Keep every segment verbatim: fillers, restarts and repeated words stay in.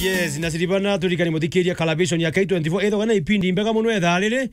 Yes, na Silvana, turirikane muthikiria collaboration ya K twenty-four. Ethagwa na ipindi mbega muno ethaa riri.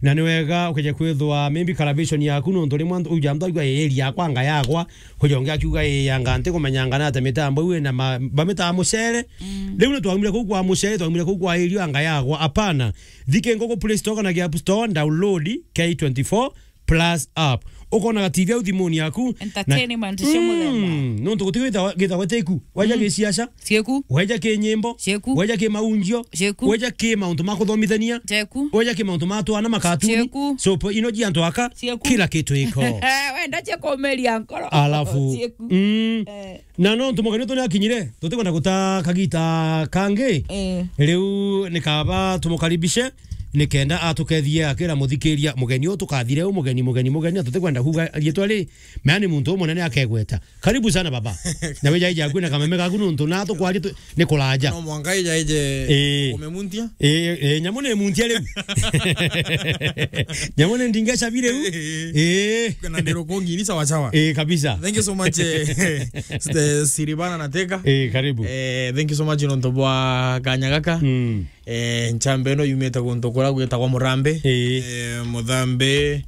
Na ni wega ukeja kwithwa maybe collaboration yaku nontu rimwe antu uja antu aigua area yakwa anga yagwa. Kuja ungi akiuga ii anga nti kumenya anga nate mitambo iu ina ma-, bamitaa mucere. Mm. Riu ni twaumire kuu kwa mucere, twaumire kuu kwa area anga yagwa. Apana. Thike nguku Play Store kana App Store, download K twenty-four Plus app. Ukonaga T V au thimuni yaku. Entertainment cia muthemba. Mm, nontu guti gitagwa, gitagwa teku. Waja mm. Giciaca. Cieku. Waja ki nyimbo. Cieku. Waja ki maunjio. Cieku. Waja ki mauntu ma kuthomithania. Cieku. Waja ki mauntu ma twana makatuni. Cieku. Sopo ino ji antu aka. Cieku. Kila kitu iko. Wenda cia kumeria nkoro. Alafu. Cieku. Mm. Eh. Na nontu mugeni wetu ni akinyire, tutikwenda guta kagita kangi. Eh. Riu ni kaba tumukaribishe, nikenda atukethie akira muthikiria mugeni uyu tukathire u mugeni, mugeni, mugeni, na tutikwenda kuuga riitwa ri, mea ni muntu umunene akegweta. Karibu sana baba. Na wija ija kwina kameme gaku nontu na tukwaria tu-, ni kuraja. No mwanka ija ije eh. Umemuntia? Eh, eh, nyamu ni muntia riu. Nyamu ni ndingeca bi riu. Eh. Eh. Na ndirukungi ni sawa sawa. Eh, kabisa. Thank you so much, eh, Ste-, Silvana na Teka. Eh, karibu. Eh, thank you so much nontu bwa kanya gaka. Mm. Eh, nchamba ino yumite guntu kuria gwitagwa Murambi. Eh. Eh, Muthambi,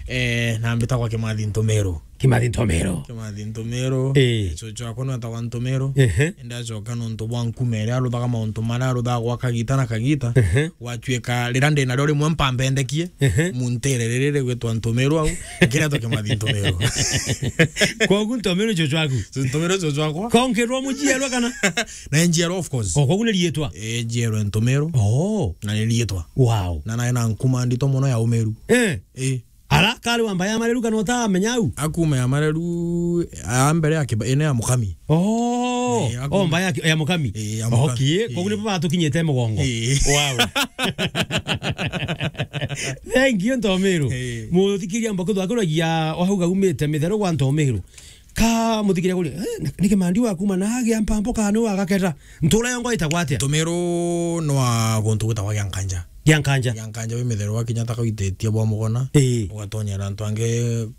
eh, na mbitagwa Kimathi Ntumiru. Kimathi Ntumiru. Kimathi Ntumiru. Eh. Cucu wakwa nwetagwa Ntumiru. Ehe. Ndacoka nontu bwa nkuma iria aruthaga mauntu maria aruthaga gwa kagita na kagita. Ehe. Gwatuika riria ndi nario rimwe mpambendekie, ehe, muntere riri rigwitwa Ntumiru au, nkiretwa Kimathi Ntumiru. Kogu Ntumiru cucu waku? Ntumiru cucu wakwa. Ko nkirwa muciarwa kana? Na njiarwa, of course. O, kogu ni riitwa? Eh, njiarwa Ntumiru. Oh. Na ni riitwa. Wow. Na nae na nkuma ndito mono ya umiru. Eh. Eh. Ara, kari wa mba ya mareru kana utamenya au? Akuma ya mareru, a mbere ya kiba-, ene ya mukami. Oh, eh, akuma. Oh, mba ya ki-, ya mukami. Eh, ya mukami. Okay, eh, kogu nibo batukinyite mugongo. Eh. Wow. Thank you, Ntomiru. Eh. Muthikiria mba kuthwa kuragia o hau gaumite mitheru gwa Ntomiru. Ka muthikiria kuri, eh, ni Kimandi wa kuma na agia mpambo kana ni wa gaketa? Ntura yongo itagwa atia? Ntumiru no a guntu gwitagwa Giankanja. Giankanja. Giankanja wi mitheru wakinya ta kauitetie bwa mugona. Ii. Ugatonyera antu angi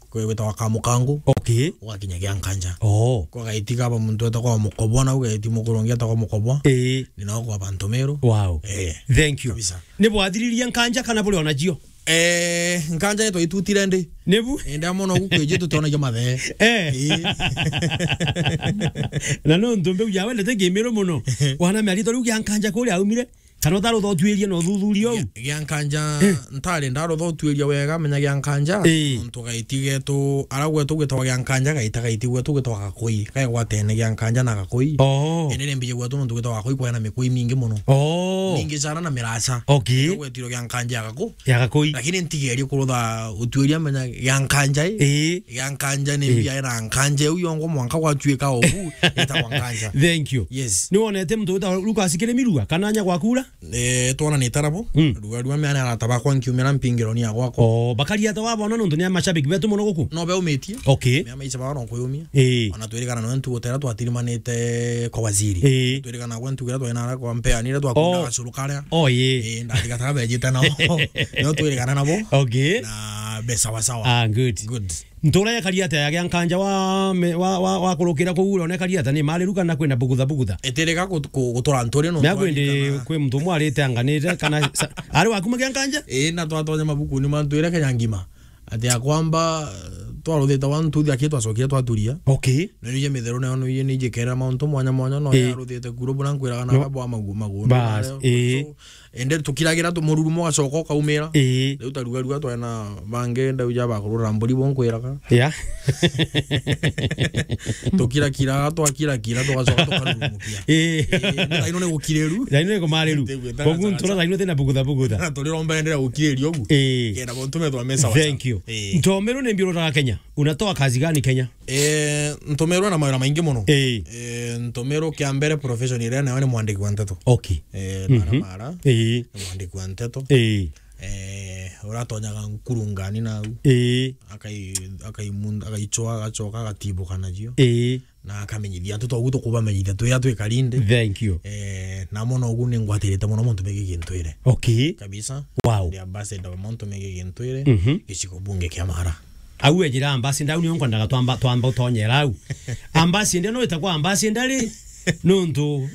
kwi-, gwitagwa Kamukangu. Okay. Ugakinya Giankanja. Oh. Kwa gaiti kaba muntu etagwa Mukobwa, na ugaiti mukuru ungi etagwa Mukobwa. Ii. Ni nao kwaba Ntumiru. Wow. Eh. Thank you. Kabisa. Ni bwathiririe Nkanja kana buri ona cio? Eh, Nkanja ni twaitutire ndi. Nibu? Eh, ndamona ugu kwiji tutionagia mathe. Eh. Eh. Na nontu mbeu ya wendete Kimiru muno. Wana miarito riu Giankanja kuria aumire. Kana utarutha utuirie na uthuthuria uu? Gia-, Giankanja, eh, ntari ndarutha utuiria wega, menya Giankanja. Eh. Nontu gaiti getu, ara gwetu gwitagwa Giankanja, gaita gaiti gwetu gwitagwa Gakui. Kaigwatene Giankanja na Gakui. Oh. Indi ni mbiji gwetu nontu gwitagwa Gakui kwena mikui mingi muno. Oh. Mingi sana na miraca. Okay. Ndio gwetirwo Giankanja ya Gaku-, ya Gakui. Lakini ntigerie kurutha utuiria menya Giankanja i. Ii. Giankanja ni, ii, mbia ina Nkanja iu yongo mwanka gwatuika obu itagwa Nkanja. Thank you. Yes. Ni wonete muntu wita Lucas Kirimirua kana nya gwakura? Eh, twonanite nabo. Mm. Rua, rua meana arata bakwa nkiumira mpingironi ya gwakwa. Oh, bakari ata wabona nontu ni amashabiki betu muno guku? No beumitie. Okay. Mea maica bao no kuyumia. Ii. Ona twirigana no ntu gutera twatirimanite kwa waziri. Ii. Twirigana gwe ntu gera twena ara kwa mpeanire twakunda, oh, gacuru karia. Oh, ii. Ii, ndatigataga bejite nao. No twirigana nabo. Okay. Na be sawa sawa. Ah, good. Good. Ntura ya kari atia ya Giankanja wa me-, wa, wa, wa kurukira kuu ura one kari atia ni mariru kana kwina bugutha bugutha? Itirika gut-, ku-, gutura nturi nontu. Na kwendi kwi muntu umwe arite anganite kana sa-, ari wakuma Giankanja? Ii, na twatonya mabukuni mantu ira Kenya ngima. Ati akwamba, eh, twaruthite one, two, three aki twacokire twaturia. Okay. Na nije mitheru nayo nije nijikerera mauntu mwanya mwanya no, ii, yaruthite kuru buna nkwiraga na, no, baba wa magu-, magu-, bas, nayo. Ii. So, ende tukiragira tu mururumo ugacoka ukaumira. Ii. Riu tarugarua twena bangi ndauja bakurura mburi bo nkwiraga. Yeah. Tukirakiraga, twakirakira, tugacoka tukarurumukia. Ii. Ii, thaino ni gukiriru. Thaino ni kumariru. Ndigwita. Kogu na ntura thaino tina bugutha bugutha. Na turiromba enderea gukiriria ugu. Ii. Kenda bontu methwa mesa. Thank you. Ii. Ntomeru ni mbi urutaga Kenya? Unatoa kazi gani Kenya? Eh, Ntomeru na mawira maingi muno. Ii. Eh, Ntomeru kia mbere profession iria nayo ni mwandiki wa nteto. Okay. Eh, mhm. Mara mara. Ii. Ni mwandiki wa nteto. Ii. Eh, uratonyaga nkurungani nau. Ii. Akai-, akaimun-, akaichwa, agachoka, agatibuka nacio. Ii. Na akamenyithia antu togu tukubamenyithia twi atwi karinde. Thank you. Eh, na mono ugu ni ngwatirite muno muntu megi gintwire. Okay. Kabisa. Wow. Ndi ambassador wa muntu megi gintwire. Mhm. Gicigo bunge kia Mara. Au ejira ambassador, au niyo nkwendaga twamba, twamba utonyera au. Ambassador no itagwa ambassador ri? Nontu,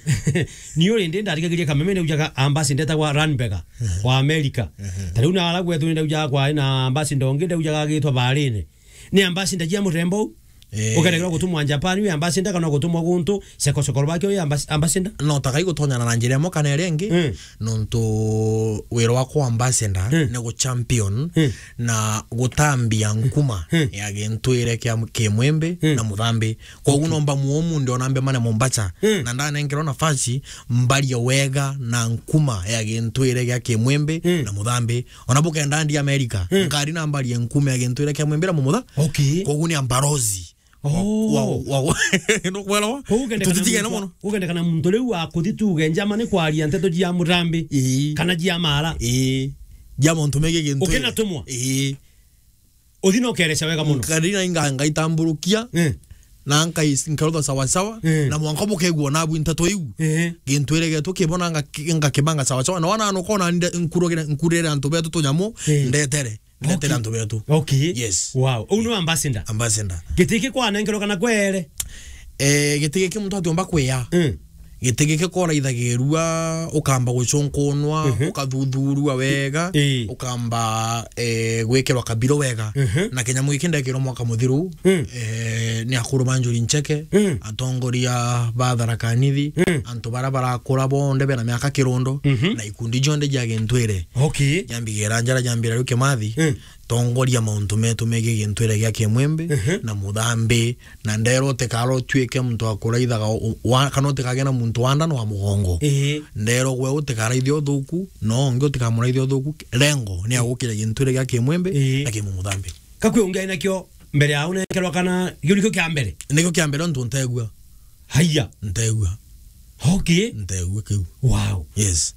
ni uri ndi ndarikagiria kameme ni ujaga ambassador etagwa Ranberger wa America. Ta riu na ara gwetu ni ndaujaga kwari na ambassador ungi ndaujaga agitwa Barine. Ni ambassador jia murembo u? Eh. Ukeregera gutumwa Japan, wi ambassador kana gutumwa guntu, sekosokoro bake wi ambas-, ambassador? No, takai gutonyana na njira imwe kana iria ingi, Mm. nontu wira wakwa ambassador Mm. ni gu champion Mm. na gutambia nkuma Mm. ya gintwire kia Kimwimbi Mm. na Muthambi. Koguo Okay. nomba muo munde ona mbe mane Mombasa, Mm. na ndanenkerwa nafasi mbarie wega na nkuma ya gintwire gia Kimwimbi Mm. na Muthambi. Ona bukenda ndi America, Mm. nkari na mbarie nkuma ya gintwire kia Mwimbi na Mumutha. Okay. Koguo ni ambarozi. Oh. Wa, wa, wa, nukwelewa? Koguo ukendekana Tutitigene muntu, mono. Ukendekana muntu riu akuthi tuge njama ni kwaria nteto jia Muthambi Ii. kana jia Mara. Ii. Jia muntu mege gintwire. Ukena tumwa? Ii. Uthi na ukereca wega mono. Nkari na inga-, ngaitamburukia, Eh. na nkai-, nkarutha sawa sawa, Eh. na mwanka bukegua nabu nteto iu. Eh. Gintwire getu kibona ngaki-, ngakibanga sawa sawa. Na wana nukona nde-, nkurugire, nkurire antu betu tunyamu, Eh. ndetere. Ndetere Okay. antu betu. Okay. Yes. Wow. Uu ni ambassador. Ambassador. Giti giki kwanenkerwa kana kwere? Eh, giti giki muntu atiumba kwiya. Eh. Giti giki koraithagirua, ukamba gucunkunwa, Mhm. ukathuthurua wega, Ii. ukamba, eh, gwikirwa kabiro wega. Mhm. Na kinyamu giki ndekirwa mwaka muthiru, Mm. eh, ni akuru ba Njuri Ncheke, Mm. atongoria ba Tharaka Nithi, Mm. antu bara barakura bonthe bena miaka kirundo, Mhm. na ikundi jonthe jia gintwire. Okay. Jambigera njara jambira riu Kimathi, Mm. tongoria mauntu metu megii gintwire gia Kimwimbi Mhm. na Muthambi, na nderwa utikara utuike muntu wa kuraithaga u-, wa, kana utikage na muntu wa nda na wa mugongo. Ii. Nderwa gwe utikaraithia uthuku, no ungi utikamuraithia uthuku, rengo ni agukira gintwire gia Kimwimbi Ii. na Kimumuthambi. Kakwi ungi ai nakio mbere ya unenkerwa kana gio nikio kia mbere? Nikio kia mbere untu ntegua. Haiya. Ntegua. Okay. Ntegua kiu. Wow. Yes.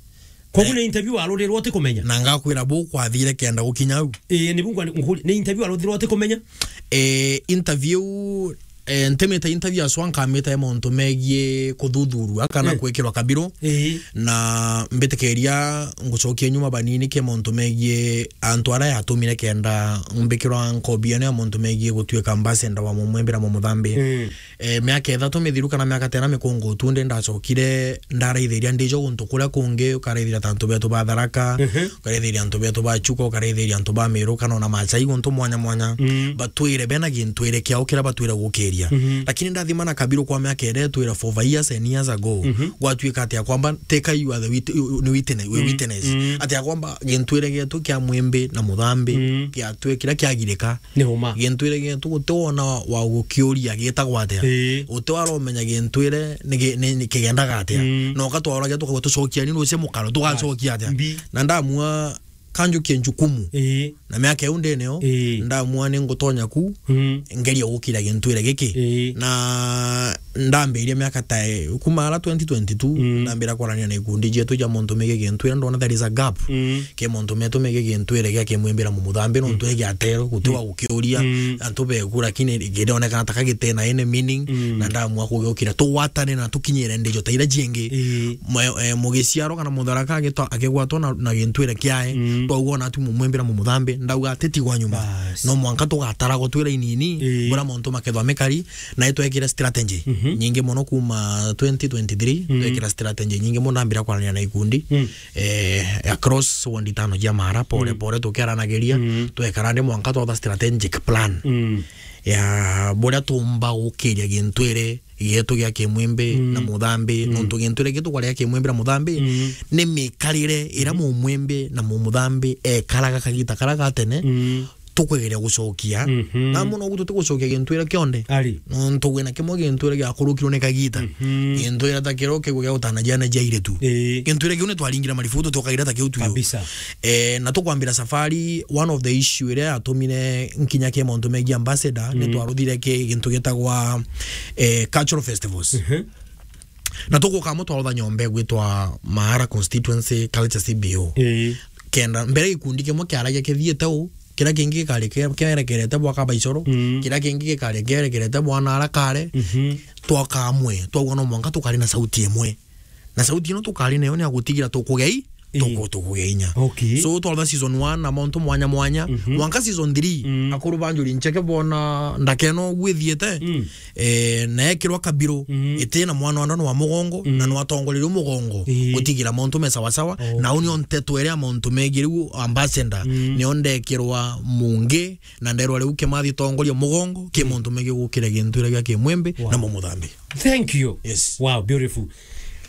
Koguo Eh. ni interview waruthirwe utikumenya? Na ngakwira bu kwathire kenda gukinya au. Ii, ni bu nkwa-, nkuri-, ni interview waruthirwe utikumenya? Eh, interview, eh, ntimite interview aswa nkamite mauntu megii kuthuthurua kana Eh. kwikirwa kabiro. Ii. Na mbitikiria ngucokie nyuma banini ki mauntu megii antu aria yatumire kenda mbikirwa nkobi ino ya mauntu megii gutuika ambassador wa Mumwimbi na Mumuthambi. Mm. Eh, miaka ithatu mithiru kana miaka tena mikungu tu ndi ndacokire ndaraithiria ndijo guntu kuria kungi, ukaraithiria ta antu betu ba Tharaka, Mhm. ukaraithiria antu betu ba Chuka, ukaraithiria antu ba Meru, kana ona Maasai guntu mwanya mwanya. Mm. Batwire bena gintwire kiao kiria batwire gukiria. Mhm. Lakini ndathima na kabiru kwa miaka iria itwire for years and years ago, Mhm. gwatuika atia kwamba, teka you are the wit-, you, you, ni witness, we Mm. witness. Mm. Atia kwamba gintwire gietu kia Mwimbi na Muthambi, Mm. kiatwikira kiagirika. Ni uma. Gintwire gietu guti wona wa, wa gukiuria gitagwa atia. Ii. Guti waromenya gintwire ni gi-, ni, ni kigendaga atia. Mm. Na ukatwauragia tukauga tucokia ni rucio mukaro tugacokia atia. Mbi. Na ndamua kanjukie njukumu. Ii. Na miaka iu ndinio, Ii. ndamua ni ngutonya ku, Mm. ngeria gukira gintwire giki. Ii. Na ndambirie miaka ta, eh, kuma ara twenty twenty-two, Mm. ndambira kwarania na ikundi jietu ja mauntu megii gintwire, ndona there is a gap. Mm. Ki mauntu metu megii gintwire gia Kimwimbi na Mumuthambi, nontu Mm. ni giatero, guti Mm. wa gukiuria, Mm. antu beku, lakini girionekana ta ka gitena any meaning, Mm. na ndamua kugiukira. Tugwatane na tukinyire ndijo ta iria jingi. Ii. Mwe-, eh, mugiciarwa kana Mutharaka agitwa-, akigwatwa na, na gintwire kiae, Mm. twauga ona atu Mumwimbi na Mumuthambi, ndauga atitigwa nyuma. Bas. No mwanka tugataragwa twira inini, Ii. bura mauntu makethwa mikari, na itwekire strategy Mhm. nyingi muno kuma twenty twenty-three, Mm. twekira strategy nyingi muno, ndambira kwarania na ikundi, Mm. eh, across ward itano jia Mara, pore Mm. pore tukiaranagiria, Mm. twekara ndi mwanka twatha strategic plan Mm. ya buria tumba gukiria gintwire gietu gia Kimwimbi Mm. na Muthambi, Mm. nontu gintwire gietu kwaria Kimwimbi na Muthambi, Mm. ni mikarire iria Mumwimbi na Mumuthambi ekaraga kagita karia ga tene, Mm. tukwegeria gucokia. Mhm. Na muno gutu tugucokia gintwire kionde. Ari. Nontu gwina kimwe gintwire giakurukirwe ni kagita. Mhm. Gintwire ta kiria ukigua gia gutana ciana cia airitu. Ii. Gintwire kiu ni twaringire maribu, tutiokagira ta kiu tuyo. Kabisa. Eh, na tukwambira safari, one of the issue iria yatumire nkinya ki mauntu megii ambassador, ni Mhm. twaruthire ki gintu gitagwa, eh, cultural festivals. Mhm. Na tuguka amwe twarutha nyomba igwitwa Maara Constituency Culture C B O. Ii. Kenda, mbere gikundi kimwe kiaragia kithiite u, kiria kingi gikari ke-, kerekerete bwa Kabaicoro, Mm. kiria kingi gikari kerekerete bwa Naara kare. Mhm. Twoka amwe, twauga no mwanka tukari na sauti imwe. Na sauti ino tukari nayo ni ya gutigira tukugei Ii. tuku-, tukugia inya. Okay. So, twarutha season one na mauntu mwanya mwanya, Mhm. mwanka season three, Mm. akuru ba Njuri Ncheke bona ndakeno gwithiete, Mm. eh, na ekirwa kabiru, Mm. iti na mwana wa ndano wa mugongo, Mm. na nwatongorerie mugongo, Ii. gutigira mauntu me sawa sawa, Oh. na uni onte twere mauntu megi riu ambassador, Mm. nio ndekirwa mungi, na nderwa riu Kimathi tongoria mugongo, ki Mm. mauntu megi gukira gintu iria gia Kimwimbi Wow. na Mumuthambi. Thank you. Yes. Wow, beautiful.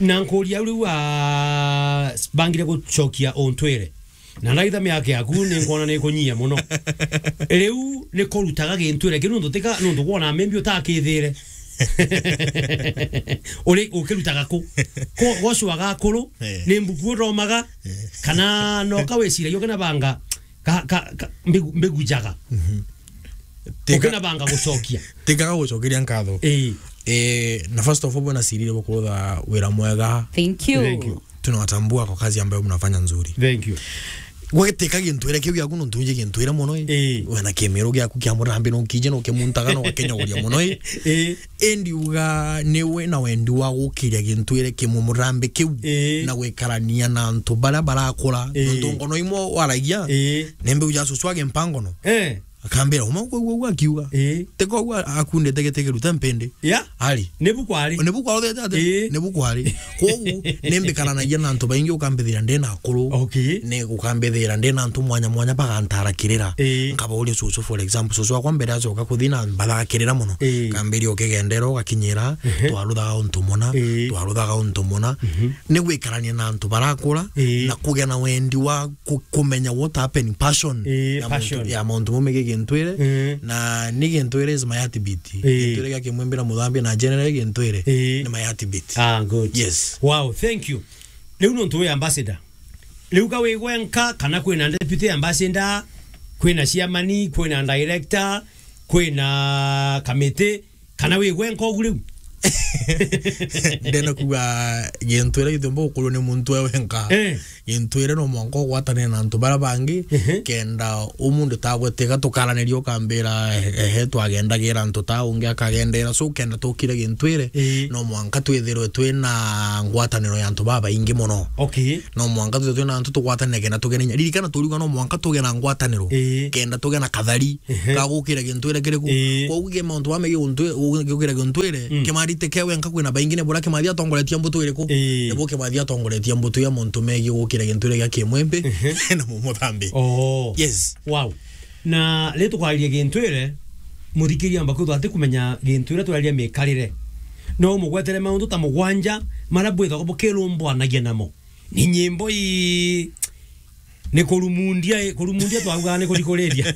Na nkuria riu, ah, bangire gucokia untwire. Na ndaitha miaka yaku ni nkwona ni kunyia muno. Riu ni kurutaga gintwire kiu nuntu tika, nuntu kwona maybe utakithire. Uri ukirutaga ku? Ko gocwaga akuru, Eh. ni mbuku uthomaga, Eh. kana no kawiciragia ukina banga, ka, ka, ka, mbigu, mbigu njaga. Mhm. Tika- Ukina banga gucokia. Tikaga gucokeria nkatho. Ii. Eh, na first of all, bwana Sirire, bukurutha wira mwega. Thank you. Thank you. Tunawatambua kwa kazi ambayo mnafanya nzuri. Thank you. Gweteka gintwire kiu giaku nuntu nje gintwire muno, ii. Ii. Wena kimiru giaku kia murambi no kije no kimuntaga no gakenyaguria muno, ii. Ii. Indi uga ni wina wendi wa gukiria gintwire kimumurambi kiu Ii. na gwikarania na antu baria barakura. Ii. Nuntu ngono imwe waragia, Ii. ni mbiu ja cucu agi mpangono. Eh. Akambira, "Uma kwigua uguo akiuga." Ii. Tiko uguo akundite giti kiruta mpindi. Ya? Ari. Nibu kwari. Nibu kwari uthete ati? Ii. Nibu kwari. Kogu, nimbikaranagia na antu baingi ukambithira ndi na akuru. Okay. Ni ukambithira ndi na antu mwanya mwanya bagantara kirira. Ii. Nkabauria cucu, for example, cucu wakwa mbere acoka kuthi na mbatha kirira muno. Ii. Kambiria ukigendera ugakinyira, Ehe. twaruthaga untu muna, Ii. twaruthaga untu muna. Mhm. Ni gwikarania na antu barakura, Ii. na kugia na wendi wa ku-, kumenya what happened, passion Ii, ya passion. Muntu, ya mauntu mau megii gintwire, Ii. na ni gintwire is my heartbeat. Ii. Gintwire gia Kimwimbi na Muthambi na general gintwire Ii. ni my heartbeat. Ah, good. Yes. Wow, thank you. Riu nuntu wi ambassador. Riu ka wi gwenka kana kwina deputy ambassador, kwina chairman, kwina director, kwina kamiti, kana wi gwenka ugu riu? Ndenda kuga gintwire gitiumba gukorwo ni muntu e wenka. Eh. Gintwire no mwanka ugwatanire na antu baria bangi, Ehe. kenda umundu tagwe tiga tukaraniria ukambira, ehe, twagendagira antu ta ungi akagendera. So kenda tukire gintwire, Ii. no mwanka twithirwe twina ngwataniro ya antu babaingi muno. Okay. No mwanka twithirwe twina antu tugwatanire kenda tugene inya. Ririkana turiuga no mwanka tuge na ngwataniro. Ii. Kenda tuge na kathari. Ehe. Ka gukira gintwire kiriku. Ii. Koguo ge mauntu ba megi guntwi-, gu-, gukira gintwire, Mm. Kimathi ti ke wenka kwina baingi ni buria Kimathi atongoretie mbutu iriku? Ii. Nibu Kimathi atongoretie mbutu ya mauntu megi gukira gintwire gia Kimwimbi Ehe. na Mumuthambi. Oh. Yes. Wow. Na ri tukwariria gintwire, muthikiria amba kwithwa ati kumenya gintwire turaria mikarire. No umugwetere mauntu ta mugwanja maria bwithagwa bukirumbwanagia namo. Ni nyimbo ii, ni kurumundia, kurumundia twaugaga ni kurikuriria.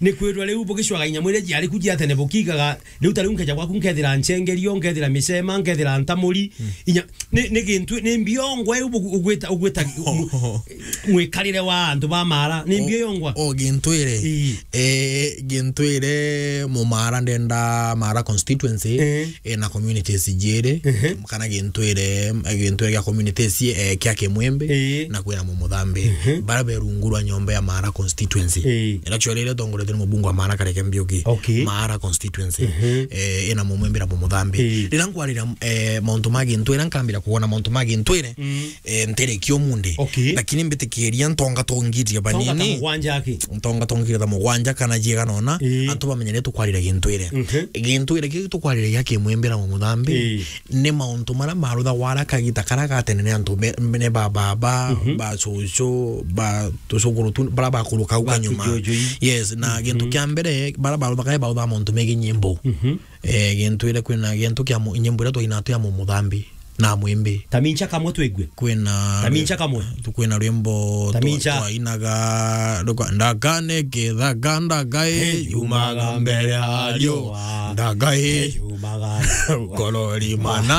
Ni kwirwa riu bugicwaga inya mwire jiari ku jia tene bukigaga, riu ta riu nkeja gwaku nkethira nchengerio, nkethira micema, nkethira ntamuri, Mm. inya, ni, ni gintu, ni mbiongwa iu bugu-, ugwita, ugwita mu-, mwikarire wa antu ba Mara, ni O-, mbiongwa. O gintwire. Ii. Eh, gintwire Mumara ndenda Mara constituency, Eh. eh, na communities jiri, Ehe. kana gintwire, gintwire gia communities, eh, kia Kimwimbi, Eh. na kwina Mumuthambi. Ehe. Bara be rungu rwa nyomba ya Mara constituency. Eh. Ira actually ira tongoretwe ni mubunge wa Mara Kareke Mbiuki. Okay. Mara constituency. Ehe. Eh, ina Mumwimbi na Mumuthambi. Eh. Rira nkwariria, eh, mauntu ma gintwire, nkambira kuona mauntu ma gintwire, Mm. eh, nterekia umundi. Okay. Lakini mbitikiria ntonga tongirire banini. Tonga ta mugwanja aki. Ntonga tongirire ta mugwanja kana jiega nona, Ii. antu bamenye ni tukwarire gintwire. Mhm. Gintwire kiu tukwarire gia Kimwimbi na Mumuthambi, Ii. ni mauntu maria maruthagwa ara kagita karia gatene ni antu be-, ni ba baba, Mhm. ba cucu, ba tucukuru tu, baria bakuruka au Ba kanyuma. Tujuju ii. Yes, na Mhm. gintu kia mbere, baria baruthaga, baruthaga mauntu megi nyimbo. Mhm. Eh, gintwire kwina gintu kia mu-, nyimbo iria twainaga twi ya Mumuthambi na Mwimbi. Tamincha kamwe twigue. Kwina Tamincha kamwe. Kwina rwimbo twa-, Tamincha. Twainaga, ruka-, ndagane kithaka, ndagai Hey, yumaga mbere ya riua. Ndagai hey, yumaga. Ngoro rimana.